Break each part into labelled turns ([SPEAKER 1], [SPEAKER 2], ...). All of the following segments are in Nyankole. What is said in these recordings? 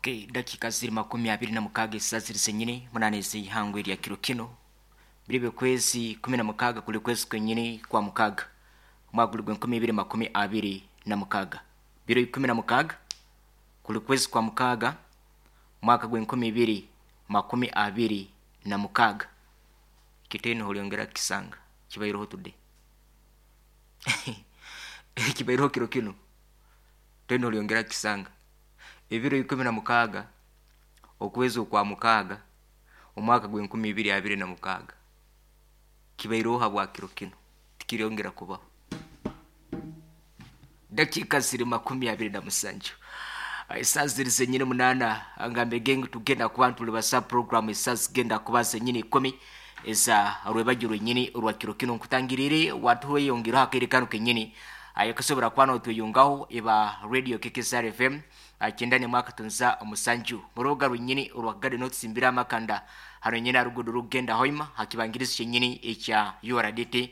[SPEAKER 1] Okay, dakika ziri 26 esa ziri zenyini munane ez'eihangwe erya kiro kino biribe kwezi 16 kuli kwezi kwenyini kwa mukaaga omwaka guli gw'enkumi ibiri 26, biro 16 kuli kwezi kwa mukaaga omwaka gw'enkumi ibiri 26. Ekyo olyongera kukisanga kibaireho today, ekibaireho kiro kino toine olyongera kukisanga. Ebiro 16 okwezi okwa mukaaga omwaka gw'enkumi ibiri abiri na mukaaga kibaireho habwa kiro kino, tikiryongera kubaho. Dakiika ziri 27 esaaha ziri zenyini 8. Ngambege ngu tugenda kuba ntulibasa program esaaha zigenda kuba zenyini 10 eza rwebagyo rwenyini orwa kiro kino. Nkutangirire watuhweyongeraho akaire kanu kenyini ayakasobora kuba notweyongaho eba radio KKSR FM 91.7 murubuga rwenyini orwa gade notusimbira amakanda hano nyine arugudo rugenda hoima hakibangirizi kyenyini ekya URDT,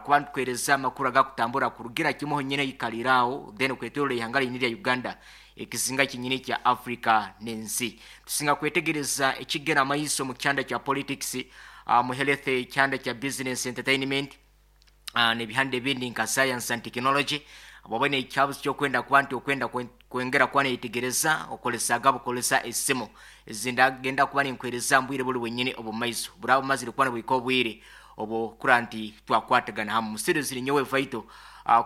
[SPEAKER 1] kuba ntukwereza amakuru agakutambura kurugira kimuho nyine ikaliraho then kwetorola ihanga linyini lya Uganda, ekizinga kyenyini kya Africa n'ensi. Tusinga kwetegereza ekigenda amaiso mu kyanda kya politics, mu health, kyanda kya business, entertainment, n'ebihanda ebindi nka science and technology. Bwaba nekyabuzi kyokwenda kuba nti okwenda kwengera kuba neyetegereza okolesaga bukolesa esimu ezindagenda kuba ninkwereza mbwire buli bwenyini obumaiso buraba bumazire kuba nibwika obwire obwo kura nti twakwatagana hamu musiri ziri nyowe vaito,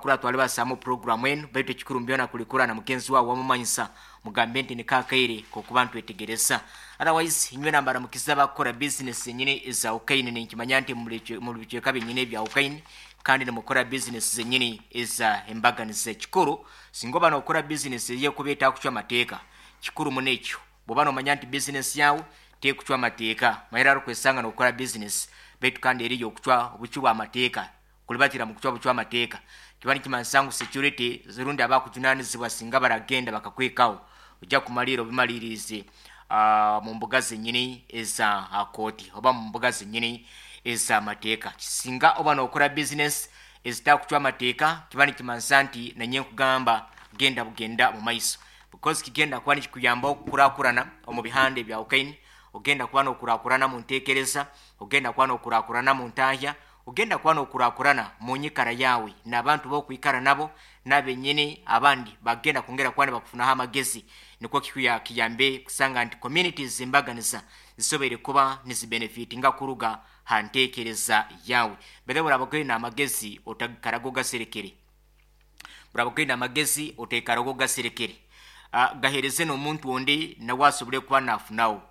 [SPEAKER 1] kura twali basamu program enu. Baitu ekikuru mbyona kulikura na mugenzi wawe wamumanyisa, mugambe nti nikakaire kokuba ntwetegereza. Otherwise inywe nambara mukiza bakora business zenyini eza ukaini, ninkimanya nti muli bicweka byenyini ebya ukaini kandi nimukora business zenyini eza embaganiza. Ekikuru singa oba nokora business eyekuba etakucwa amateeka, kikuru muno ekyo. Bwoba nomanya nti business yawe tekucwa amateeka, mahera arukwesanga nokora business baitu kandi eriyo okucwa obucwi bw'amateeka, kulibatira mu kucwa bucwa amateeka, kiba nikimanyisa ngu security rundi abakujunanizibwa singa baragenda bakakwekaho, ojja kumalira obimaliriize mu mbuga zenyini eza kooti oba mu mbuga zenyini ez'amateeka. Singa oba nokora business ezitakucwa amateeka, kiba nikimanyisa nti nanye nkugamba genda bugenda mu maiso, because kigenda kuba nikikuyamba okukurakurana omu bihanda ebyawukaine. Ogenda kuba nokurakurana mu ntekereza, ogenda kuba nokurakurana mu ntahya, ogenda kuba nokurakurana mu nyikara yawe n'abantu bokwikara nabo, n'abenyini abandi bagenda kwongera kuba nibakufunaho amagezi, nikwo kiyambe kusanga nti communities embaganiza zisoboire kuba nizibenefitinga kuruga ha ntekereza yawe. Bethe buraba oine amagezi otakaraga ogaserekere, buraba oine amagezi otekaraga ogaserekere, gahereze n'omuntu ondi nawe asobole kuba nafunaho.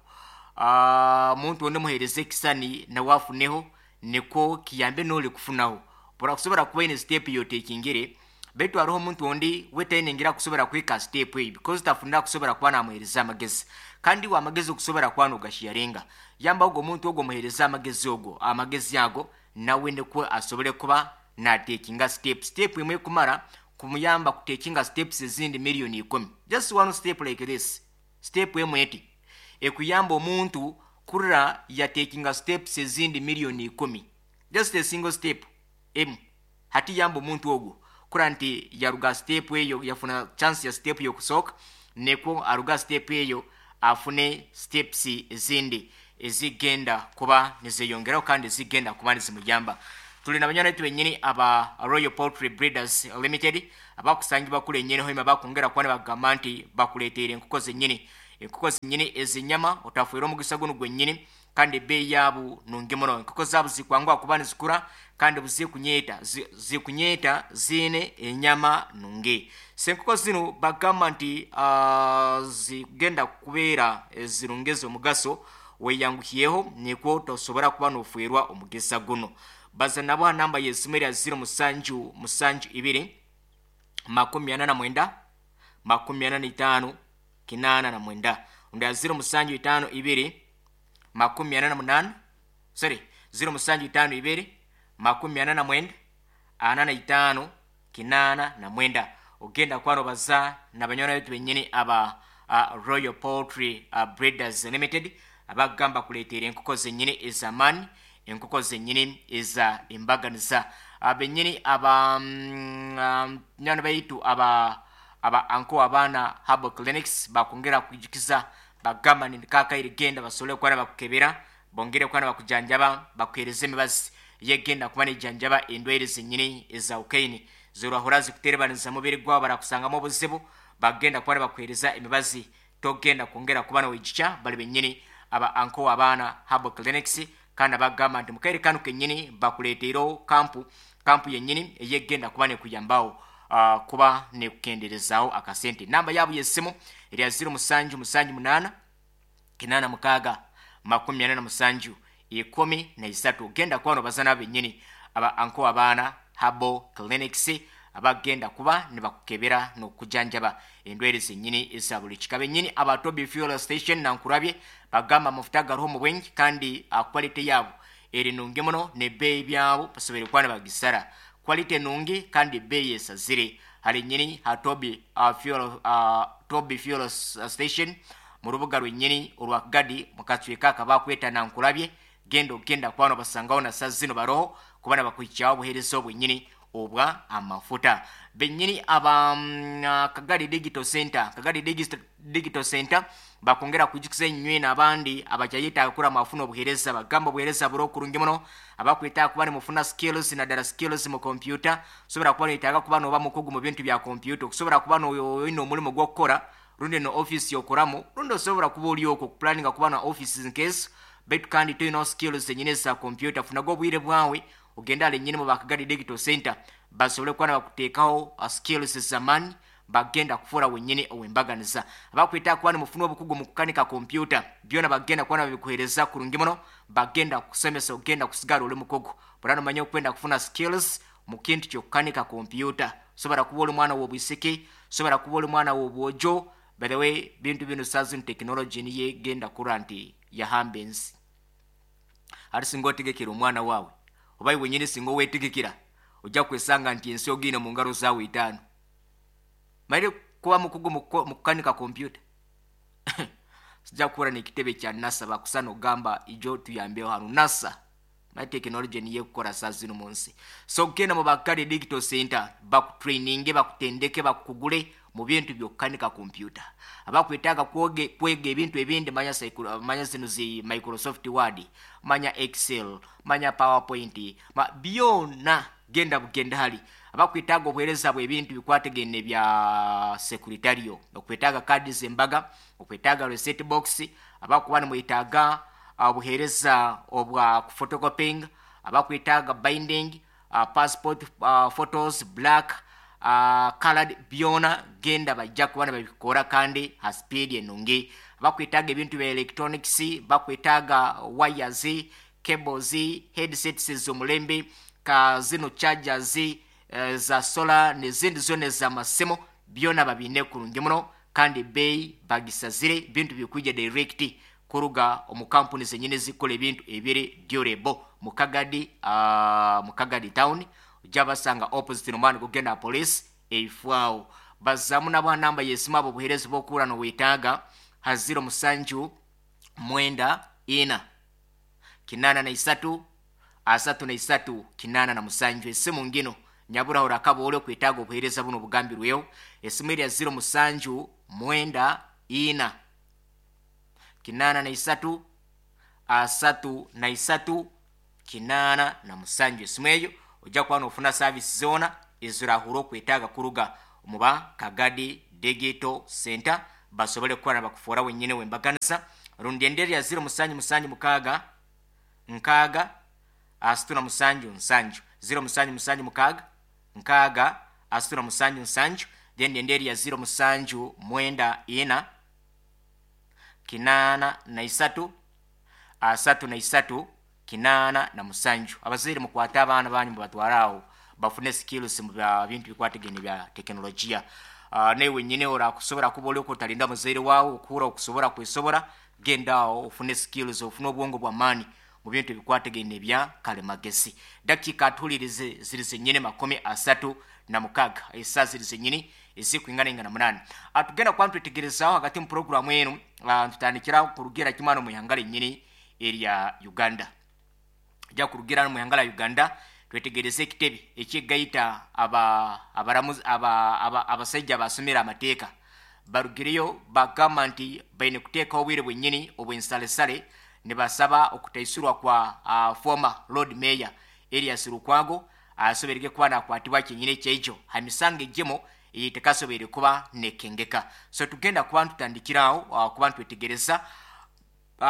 [SPEAKER 1] Omuntu ondi muhereze ekisani nawe afuneho, nikwo kiyambe n'oli kufunaho. Burakusobora kuba ine step yotekingire, baitu hariho omuntu ondi we tainengira kusobora kuhika step eyo because tafunira kusobora kuba namuhereza amagezi. Kandi iwe amagezi okusobora kuba nogasharinga, yamba ogwo omuntu ogwo omuhereza amagezi ogwo, amagezi ago nawe nikwo asobole kuba natekinga step. Step emwe ekumara kumuyamba kutekinga steps ezindi miliyoni 10. Just one step like this, step emwe eti ekuyamba omuntu kurira yatekinga steps ezindi miliyoni 10. Just a single step emu hati yamba omuntu ogwo kura nti yaruga step eyo, yafuna chance ya step yokusooka, nekwo aruga step eyo afune steps ezindi ezigenda kuba nizeyongeraho kandi zigenda kuba nizimuyamba. Tuli na banywani baitu benyini aba Royal Poultry Breeders Limited abakusangibwa kule enyini hoima, bakwongera kuba nibagamba nti bakuleteire enkoko zenyini, enkoko zenyini ezinyama. Otafuire omugisa gunu gwenyini, kandi ebeeyi yaabo nungi muno. Enkoko zaabo zikwanguha kuba nizikura kandi buzikunyeta zikunyeta ziine enyama nungi. So enkoko zinu bagamba nti zigenda kubeera ezirungi ez'omugaso. Weyanguhyeho nikwo tosobora kuba nofuirwa omugisa guno. Baza nabo ha namba y'esimu erya 0772 49 45 89, undi ya 0752 48, sorry, 0752 49 45 89. Ogenda kuba nobaza n'abanywani baitu benyini aba Royal Poultry Breeders Limited abagamba kuleetera enkoko zenyini ez'amaani, enkoko zenyini eza embaganiza. Benyini aba nywani baitu aba aba Anko Abaana Herbal Clinics bakwongera kwijukiza bagamba nti kakaire genda basobole kuba nibakukebera bongere kuba nibakujanjaba bakuhereza emibazi yegenda kuba nejanjaba endwaire zenyini ezawukaine zorahura zikuterebaniza mubiri gwawe barakusangamu obuzibu bagenda kuba nibakuhereza emibazi togenda kwongera kuba nowijukya bali benyini aba Anko Abaana Herbal Clinics. Kandi abagamba nti mukaire kanu kenyini bakuleteire kampu kampu yenyini eyegenda kuba nekuyambaho kuba nekukenderezaho akasente. Namba yabo yesimu erya 0778 86 47 13. Genda kuba nobaza nabo benyini aba Anko Abaana Herbal Clinics abagenda kuba nibakukebera nokujanjaba endwaire zenyini eza buli kika. Benyini aba Toby Fuel Station nankurabye bagamba amafuta gariho mu bwingi kandi quality yabo eri nungi muno nebeeyi byabo basobere kuba nibagisara quality nungi kandi ebeeyi esazire hari nyini ha Toby Toby Fuel Station mu rubuga rwenyini orwa Gadi mukacweka akabakweta nankurabye. Genda ogenda kuba nobasangaho na saa zino baroho kuba nibakuhikyaho obuheereza obwenyini obwa amafuta. Benyini aba Kagadi Digital Center, Kagadi Digital Center bakongera kwijukiza enywe n'abandi abakyayetaaga kura mafuna obuheereza bagamba obuheereza buri okurungi muno abakwetaaga kuba nimufuna skills naddala skills mu computer. Osobola kuba noyetaaga kuba noba mukugu mu bintu bya computer, okusobola kuba noyina omulimu gw'okukora rundi no office yokoramu rundi osobola kuba oli okwo okupulaninga kuba na offices nkezo baitu kandi toyinaho skills zenyini eza computer. Funaga obwire bwawe ogenda ale nyini mu ba Kagadi Digital Center basobole kuba nibakuteekaho skills z'amaani bagenda kufuura wenyini owembaganiza. Abakwetaaga kuba nimufuna obukugu mu kukanika kompyuta byona bagenda kuba nibabikuheereza kurungi muno, bagenda kukusomesa ogenda kusigara oli mukugu. Bura nomanya okwenda kufuna skills mu kintu ky'okukanika kompyuta. Osobola kuba oli mwana w'obwisiki, osobola kuba oli mwana w'obwojo. By the way, bintu binu saa zinu tekinologi niyo egenda kurora nti yahamba ensi. Hati singa otegekera omwana waawe oba iwe wenyini singa owetegekera ojja kwesanga nti ensi ogiine mu ngaro zaawe itaano. Manyire kuba mukugu mu kukanika kompyuta sijja kuhura n'ekitebe kya NASA bakusa nogamba ijo tuyambeho hanu NASA. Manyire tekinologi niyo ekukora saa zinu mu nsi. So genda mu Bakari Digital Center bakutraininge bakutendeke bakukugure mu bintu by'okukanika kompyuta. Abakwetaaga kwega ebintu ebindi manya manya zino zi Microsoft Word, manya Excel, manya PowerPoint, byona genda bugenda hali. Abakwetaaga obuheereza bw'ebintu bikwatagene bya secretarial, okwetaaga kaadi z'embaga, okwetaaga receipt box, abakuba nimwetaaga obuheereza obwa photocopying, abakwetaaga binding, passport photos black, colored byona genda bajja kuba nibabikora kandi ha speed enungi. Abakwetaaga ebintu bya electronics, bakwetaaga wires, cables, headsets ez'omulembe, ka zino chargers za solar n'ezindi zona ez'amasimu byona babiine kurungi muno kandi ebeeyi bagisazire. Bintu bikwija direct kuruga omu kampuni zenyini ezikukora ebintu ebiri durable mu Kagadi, mu Kagadi town ojja basanga opposite n'omwani gugenda police eifwaho. Bazaamu nabo ha namba y'esimu abo obuheereza bw'okuhurra nowetaaga ha 07 94 83 33 87. Esimu ngino nyaburaho orakaba ori okwetaaga obuheereza buno obugambirweho. Esimu erya 07 94 83 33 87. Esimu eyo ojja kuba nofuna service zoona ezirahura okwetaaga kuruga omu ba Kagadi Digital Center basobole kuba nibakufoora wenyini wembaganiza. Rundi endi erya 0776 6 37 7 0776 6 37 7. Then endi erya 07 94 83 33 87. Abazaire mukwate abaana banyu mubatware aho bafune skills mu bintu bikwatagene bya tekinologiya. Naiwe wenyini orakusobora kuba ori otarinda muzaire waawe okuhura okusobora kwesobora, genda aho ofune skills, ofune obwongo bw'amaani mu bintu ebikwatagene bya kalimagezi. Dakiika atuhulirize ziri zenyini 36, esaa ziri zenyini ezikwinganaingana 8. Tugenda kuba nitwetegerezaho hagati mu puroguramu enu, nitutandikira kurugira kimwe hano mu ihanga renyini erya Uganda. Ja kurugira hano mu ihanga rya Uganda Twetegereze ekitebe ekigaita aba abaramuzi aba aba abasaija abasomere amateeka barugireyo bagamba nti baine kuteekaho obwire bwenyini obw'ensalesale nibasaba okutaisurwa kwa former Lord Mayor Erias Lukwago asoberege kuba nakwatibwa kyenyini ekyaijo ha misango egimu eyetekasoboire kuba nekengeka. So tugenda kuba nitutandikira aho kuba nitwetegereza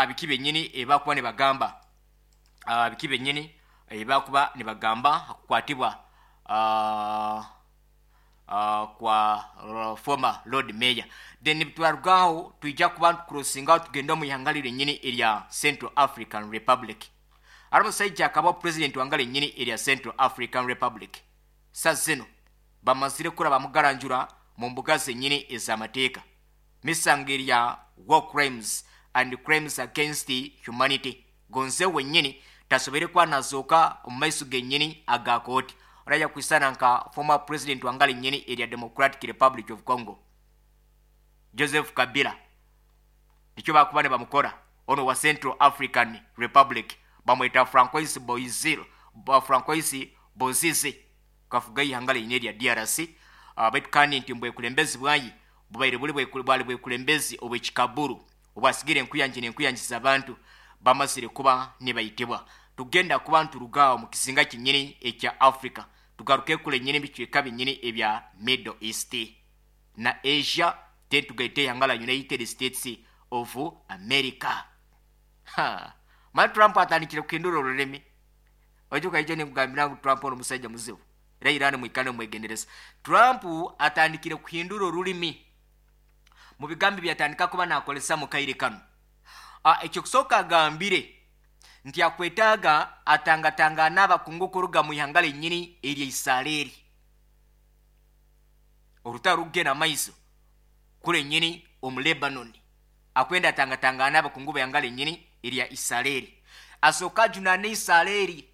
[SPEAKER 1] biki byenyini ebibakuba nibagamba biki byenyini ebibakuba nibagamba hakukwatibwa kwa former Lord Mayor. Then twarugaho twija kuba nitukurosingaho tugenda omu ihanga ryenyini erya Central African Republic. Hariho omusaija akaba president wanga ryenyini erya Central African Republic. Sa zino bamazire kura bamugaranjura mu mbuga zenyini ez'amateeka. Misango erya war crimes and crimes against humanity. Gonze wenyini tasobere kuba nazooka omu maiso genyini aga kooti. Orajya kwisana nka former president wanga ryenyini erya Democratic Republic of Congo Joseph Kabila. Nikyo bakuba nibamukora ono wa Central African Republic bamweta Francois Boizil ba Francois Bozize kafuga ihanga ryenyini erya DRC. Baitu kandi nti mbwekulembezi bwayi bubaire buri bwali bwekulembezi obwekikaburu obwasigire enkuyangi n'enkuyangi z'abantu bamazire kuba nibayitibwa. Tugenda kuba nturugaho mu kizinga kinyini ekya Africa tugaruke kule nyini ebicweka binyini ebya Middle East na Asia, then tugaite ihanga la United States of America. Ha, mara Trump atandikire kuhindura orurimi. Ojuka ijo nikugambira ngu Trump ono musajja muzibu. Era Iran mwikane mwegendereza. Trump atandikire kuhindura orurimi mu bigambo byatandika kuba nakolesa mu kaire kano. Ekyokusooka agambire nti akwetaaga atangatangana n'abakungu kuruga mu ihanga ryenyini erya Israeli. Orutaro rugenda maiso kure nyini omu Lebanon. Akwenda atangatangana n'abakungu b'ihanga ryenyini erya Israeli. Asooka ajunaana Israeli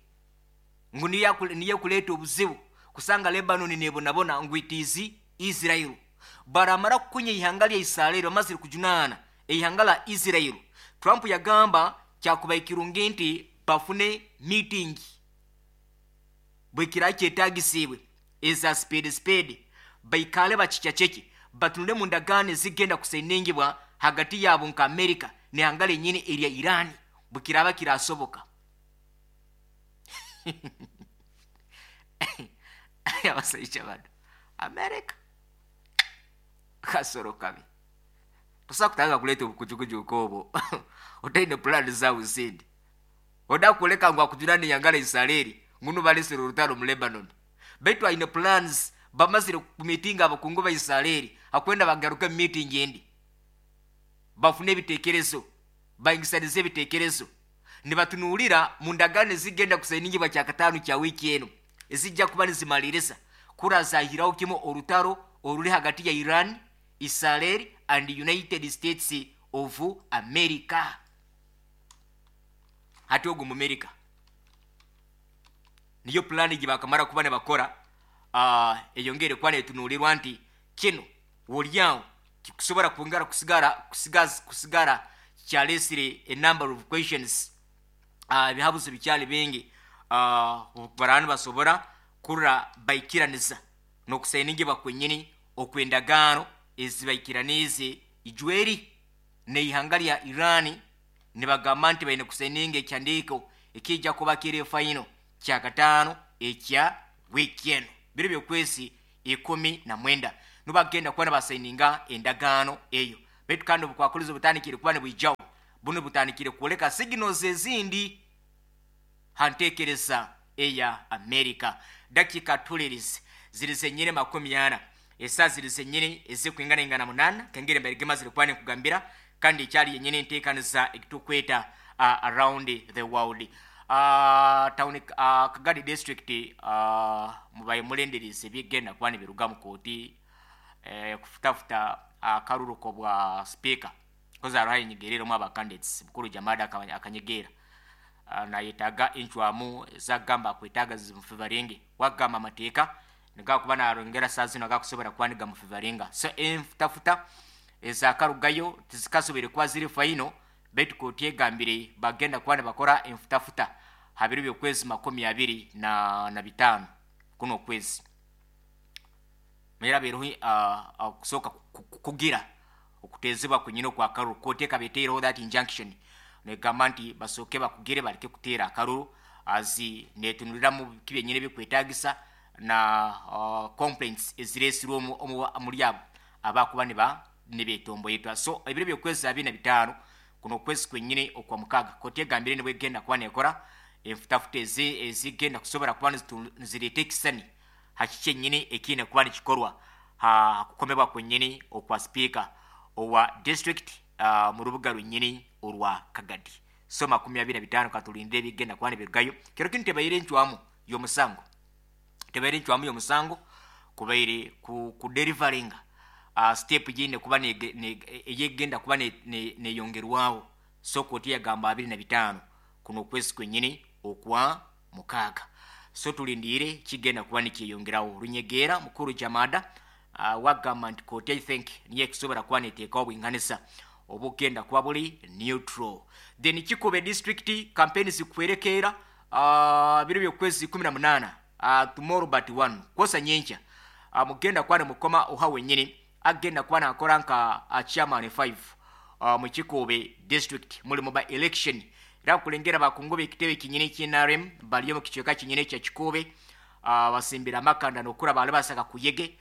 [SPEAKER 1] ngu niyo kuleeta obuzibu kusanga Lebanon nebonabona ngu it is Israel. Baramara kukunya ihanga lya Israeli bamazire kujunaana ihanga la Israel. Trump yagamba kyakuba ekirungi nti bafune meeting bwekira kyetagisibwe eza spade spade baikale bakikyaceke batunule mu ndagaano ezigenda kusainingibwa hagati yaabo nka America n'ihanga ryenyini erya Iran bwekiraba kirasoboka. Abasaija bano America kasoro kabi tosobola kutandika kuleeta obukujukuju nk'obwo otaine pulaani zaawe zindi. Oda kuleka ngu akujunane ihanga lya Israeli ngunu balesere orutaro mu Lebanon. Baitu aine plans bamazire kumitinga abakungu ba Israeli akwenda bagaruke mu meeting endi bafune ebitekerezo baingisanize ebitekerezo nibatunuulira mu ndagaano ezigenda kusainingibwa kyakataano kya wiiki eno ezijja kuba nizimaliriza kurazahiraho kimu orutaro oruri hagati ya Iran, Israel and United States of America. Hati ogu mu America niyo pulaani gye bakamara kuba nibakora eyongere kuba netunuulirwa nti kino wolyawo kikusobora kwongera kusigara kyalesire a number of questions. Ebihabuzo bikyali bingi baraba nibasobora kurra baikiraniza n'okusainingibwa kwenyini okw'endagaano ezibaikiraniize ijweri n'ihanga lya Iran. Nibagamba nti baine kusaininga ekihandiiko ekijja kuba kiri final kyakataano ekya wiiki eno biro by'okwezi 19 nibagenda kuba nibasaininga endagaano eyo. Baitu kandi obukwakulizo butandikire kuba nibwijaho buno butandikire kwoleka signals ezindi ha nteekereza eya America. Dakika tulirize ziri zenyine 40 esaa ziri zenyine ezikwinganaingana 8 kengere mbere mazire kuba nikugambira kandi ekyali yenyine enteekaniza ekitukweta around the world. Town Kagadi district mubaye mulendereze bigenda kuba nibiruga mu kooti kufutafuta akaruruko bwa speaker koza hariho ayenyegereremu aba candidates Bukuru Jamada akanyegera nayetaaga encwamu ezagamba akwetaaga zimufevaringe wagamba amateeka nigakuba narongera saa zino agakusobora kuba nigamufevaringa. So enfutafuta ezakarugayo tizikasobire kuba ziri final baitu kooti egambire bagenda kuba nibakora enfutafuta ha biro by'okwezi 25 kuno okwezi. Manyire habaireho okusooka kukugira okuteezibwa kwenyini okwa karuru. Kooti ekaba eteireho that injunction negamba nti basooke bakugire bareke kuteera akaruru as netunuliramu biki byenyini ebikwetagisa na complaints eziresirwe omuri abo abakuba niba nibetomboitwa. So ebiro by'okwezi 25 kuno okwezi kwenyini okwa mukaaga, kooti egambire nibwo egenda kuba nekora enfutafuta ezigenda kusobora kuba nizireeta ekisani ha kiki kyenyini ekiine kuba nikikorwa ha kukomebwa kwenyini okwa sipiika owa district mu rubuga rwenyini orwa Kagadi. So 25 katulindire ebigenda kuba nibirugayo. Kiro kinu tebaire encwamu y'omusango, tebaire encwamu y'omusango kubaire ku derivaringa step gyeine kuba eyegenda kuba neyongerwaho. So kooti yagamba 25 kuno okwezi kwenyini okwa mukaaga. So tulindiire kigenda kuba nikyeyongeraho. Runyegeera mukuru Jamada wagamba nti kooti I think niyo ekusobora kuba neteekaho obwinganisa obugenda kuba buri neutral. Then Kikube district campaign zikwerekeera biro by'okwezi 18, tomorrow but one, kwosa nyenkya, mugenda kuba nimukoma oha wenyini agenda kuba nakora nka chairman 5 mu Kikube district mulimu ba election. Era kulengera bakungu b'ekitebe kinyini ky'NRM bali omu kicweka kinyini kya Kikube, basimbira amakanda nokura bali basaka kuyege.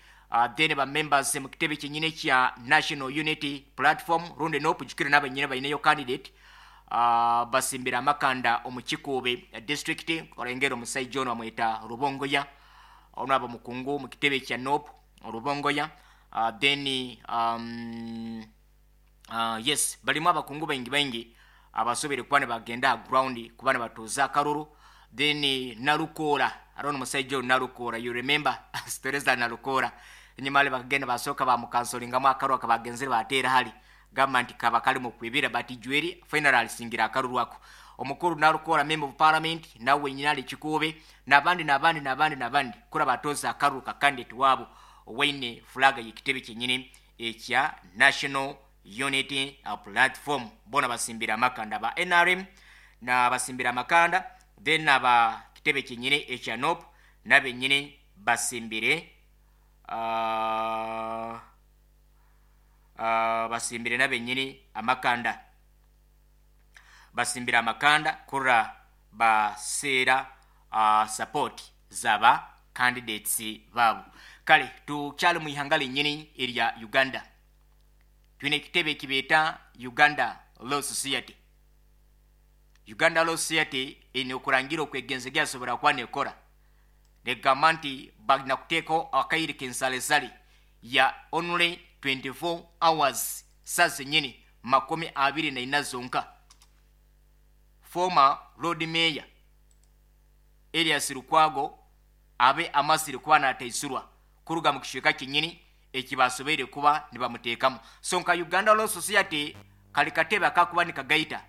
[SPEAKER 1] Then ba members mu kitebe kinyini kya National Unity Platform rundi NUP, jukira n'abanyine baineyo candidate, basimbira amakanda omu Kikube district. Orengera omusaija ono bamweta Rubongoya, ono aba mukungu mu kitebe kya NUP Rubongoya. Then yes, balimu abakungu baingi baingi abasobere kuba nibagenda aha ground kuba nibatuuza akaruru. Then Nalukoola, hariho n'omushaija ogu Nalukoola, you remember stories za Nalukoola, enyima hare bakagenda basooka bamukansoringamu akaruru akabagenzire bateera hare gamba nti kaba kari mu kwibira, but Jweri finally alisingira akaruru ako. Omukuru Nalukoola, member of parliament, nawe wenyini ari Kikuube, n'abandi n'abandi n'abandi n'abandi kura batoza akaruru ka candidate wabo owaine flag y'ekitebe kyenyini ekya National Unity Platform. Bona basimbira amakanda ba NRM na basimbira amakanda. Then aba kitebe kyenyini ekya NUP nabenyini basimbire basimbire nabenyini amakanda, basimbira amakanda kura baseera support zaba candidates baabo. Kale tukyali mu ihanga lenyini erya Uganda, twine ekitebe ekibeeta Uganda Law Society. Uganda Law Society eine okurangira okwegenza gyasobora kuba nekora, negamba nti balina kuteekaho akaire k'ensalesale ya only 24 hours, saa zenyini 24 zonka. Former Lord Mayor Elias Lukwago abe amazire kuba nataisurwa kuruga mu kicweka kyenyini ekibasobeire kuba nibamuteekamu. So nka Uganda Law Society kali katebe akakuba nikagaita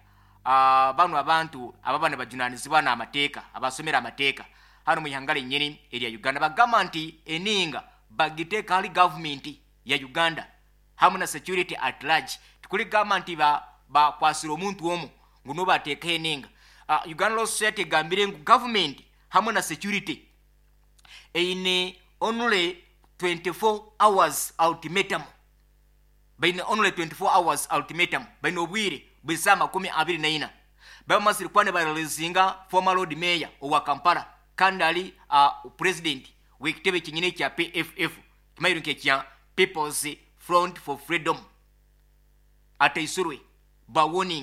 [SPEAKER 1] bano abantu ababa nibajunanizibwa n'amateeka, abasomera amateeka hano mu ihanga lenyini erya Uganda, bagamba nti eninga bagiteeka hali gavumenti ya Uganda hamu na security at large. Tikuligamba nti bakwasire omuntu omu ngu niwe bateekaho eninga. Uganda Law Society egambire ngu gavumenti hamwe na security eine only 24 hours ultimatum, baine only 24 hours ultimatum, baine obwire bw'esaaha 24 bamazire kuba nibareleasinga former Lord Mayor owa Kampala kandi ali president w'ekitebe kyenyini ekya PFF, kimayiro nk'ekya People's Front for Freedom, ataisurwe ba warning.